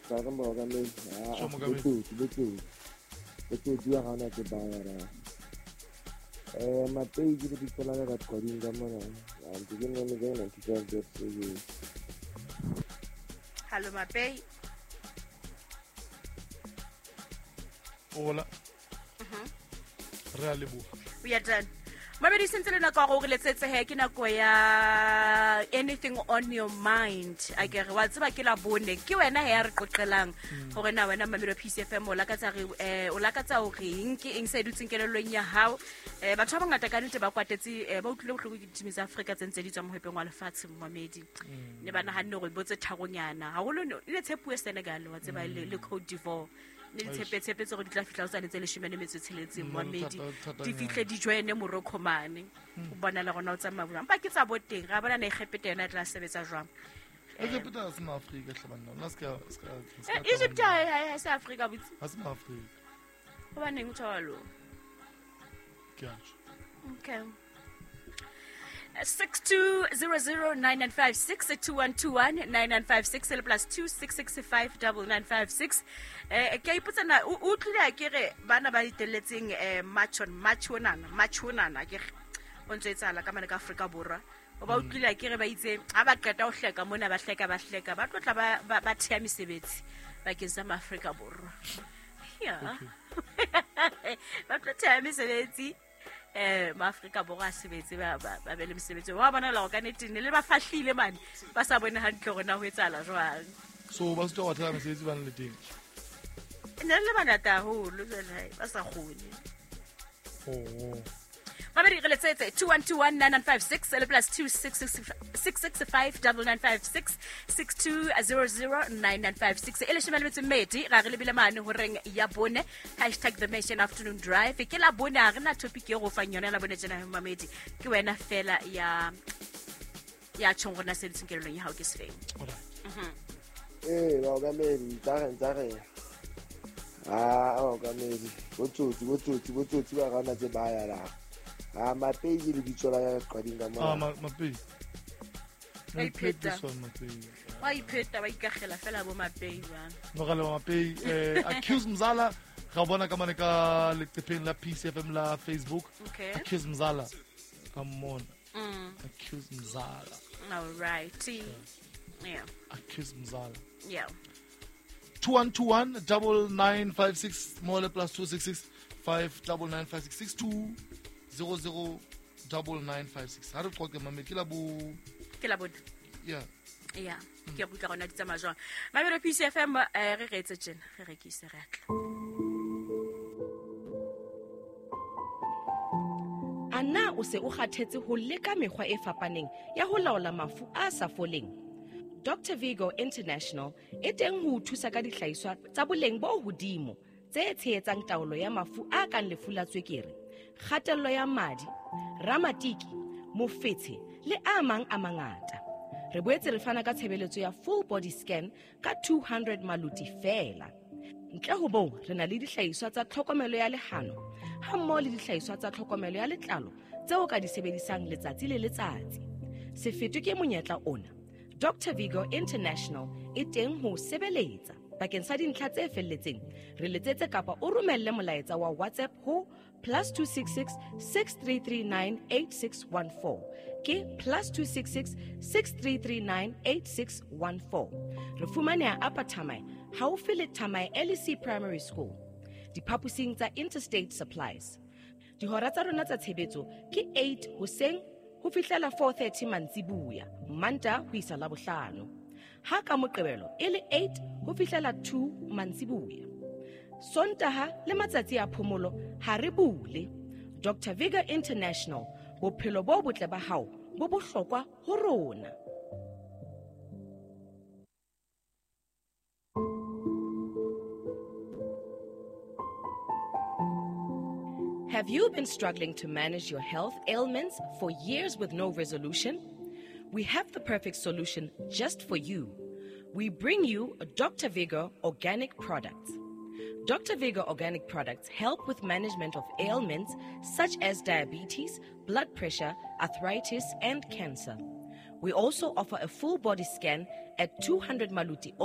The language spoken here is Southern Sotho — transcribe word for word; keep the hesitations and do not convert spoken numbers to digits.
Ba re mookamedi. Sho, mookamedi. Botsotsi, botsotsi. Botsotsi wa ga ona ke ba ra. Eh, Mapei ke lebitso la ka ka Qwading ka mona. Ah, ntse ke nne le ninety-five dot seven. Hallo Mapei. Hola. Mhm. Re a leboha. We are done. Mabedi sentse le nako ya gore letsetse he ke nako ya anything on your mind. A ke re wa tseba ke la bone ke wena he ya re qoqelang hore na wena Mamelo P C F M o lakatsa re eh, o lakatsa hore eng ke eng se dutseng kelellong ya hao. Eh, batho ba bangata ka nnete ba kwatetse, eh, ba utlwile bohloko ke ditimi tsa Afrika tse ntse di tswa mohwepeng wa lefatshe momamedi. Ne ba nahanne hore bo tse tharonyana. Haholo ne le tshepuwe Senegal wa tseba le, le Cote d'Ivoire. Ne di Eish. tshepe tshepetse gore di tla fihla ho tsane tse leshome le metso e tsheletseng, Mm, momamedi. thata, thata Di nyana. fihle di joine Morocco mane. O bona le rona o tsamaya jwang. Empa ke tsa bo teng, ra bona na Egepete yona e tla sebetsa jwang. Egepete ha se maAfrika hle banna. Nna se ka, se ka, se ka Eh, Egypt tsamaya. ha e, ha e, ha se Afrika botse. Ha se maAfrika. Hobaneng o tjho jwalo? Ke a tjho. Okay. six two zero zero nine nine five six, two one two one nine nine five six, le plus two six six five double nine five six. Eh, ke a ipotsa na, o, o utlwile ha ke re bana ba iteletseng, eh, March on March onana, March onana, ke re, o ntso etsahala ka mane ka Afrika Borwa. O ba utlwile ha ke re ba itse, ha ba qeta ho hleka mona, ba hleka, ba hleka, ba tlo tla ba, ba, ba theha mesebetsi bakeng sa maAfrika Borwa. Yeah. Okay. Ba tlo theha mesebetsi. Eh, maAfrika Borwa a sebetse, ba, ba, ba be le mesebetsi. Wa bona la hore ka nnete ne le ba fahlile mane, ba sa bone hantle hore na ho etsahala jwang. So ba sitwa ho theha mesebetsi ba le teng. Ne le bangata haholo jwale, ba sa kgone. Oh. Mabedi re letsetse two one two one nine nine five six le plus two six six six six five double nine five six six two zero zero nine nine five six. E leshome le metso e mmedi, ra re lebile mane horeng ya bone, hashtag The Nation Afternoon Drive. Ke la bone, ha re na topic e go fang yona la bone tjena mamedi. Ke wena fela ya, ya tjhong rona se dutseng kelellong ya hao ke sefeng. Alright. Mhm. Eh, baokamedi, tsa re, tsa re. Ah, baokamedi, botsotsi, botsotsi, botsotsi ba rona tse ba ya la. Ah, Mapei ke lebitso la ka Qwading ka mona. Ah, Ma-, Mapei. Wa I played ipheta. this one, Mapei. Wa ipheta, wa ikakgela fela bo Mapei ba. No, ga le Mapei, eh, Accuse Mzala, ga bona ka mane ka leqepheng la P C F M la Facebook. Okay. Accuse Mzala. Ka mmona. Mm. Accuse Mzala. All right. Yeah. Accuse Mzala. Yeah. two one two one double nine five six more le plus two six six five double nine five six six two zero zero double nine five six. Ha re qoqe mame, ke la bo Ke la bone. Yeah. Yeah. Ke a utlwa gona di tsamaya jwang. Mamelo P C F M, eh, re reetse tjena, re rekise re atla. A na o se o kgathetse ho leka mekgwa e fapaneng ya ho laola mafu a sa foleng? Doctor Vigo International e teng ho o thusa ka dihlahiswa tsa boleng bo hodimo tse tshehetsang taolo ya mafu a kang lefu la tswekere, kgatello ya madi, ramatiki, mofetshe le a mang a mangata. Re boetse re fana ka tshebeletso ya full body scan ka two hundred maluti feela. Ntle ho moo, re na le dihlahiswa tsa tlhokomelo ya lehano ha mmoho le dihlahiswa tsa tlhokomelo ya letlalo tseo ka di sebedisang letsatsi le letsatsi. Se fetwe ke monyetla ona. Doctor Vigo International e teng ho o sebeletsa. Bakeng sa dintlha tse felletseng, re letsetse kapa o romelle molaetsa wa WhatsApp ho plus two six six, six three three nine, eight six one four. Ke plus two six six, six three three nine, eight six one four. Re fumaneha Upper Thamae, haufi le Thamae L E C Primary School, diphaposing tsa Interstate Supplies. Dihora tsa rona tsa tshebetso ke eight hoseng ho fihlela four thirty mantsibuya, Mantaha ho isa Labohlano. Ha ka Moqebelo e le eight ho fihlela two mantsibuya. Sontaha le matsatsi a phomolo ha re bule. Doctor Vigo International, bophelo bo botle ba hao bo bohlokwa ho rona. Have you been struggling to manage your health ailments for years with no resolution? We have the perfect solution just for you. We bring you Doctor Vigor Organic Products. Doctor Vigor Organic Products help with management of ailments such as diabetes, blood pressure, arthritis, and cancer. We also offer a full body scan at two hundred Maluti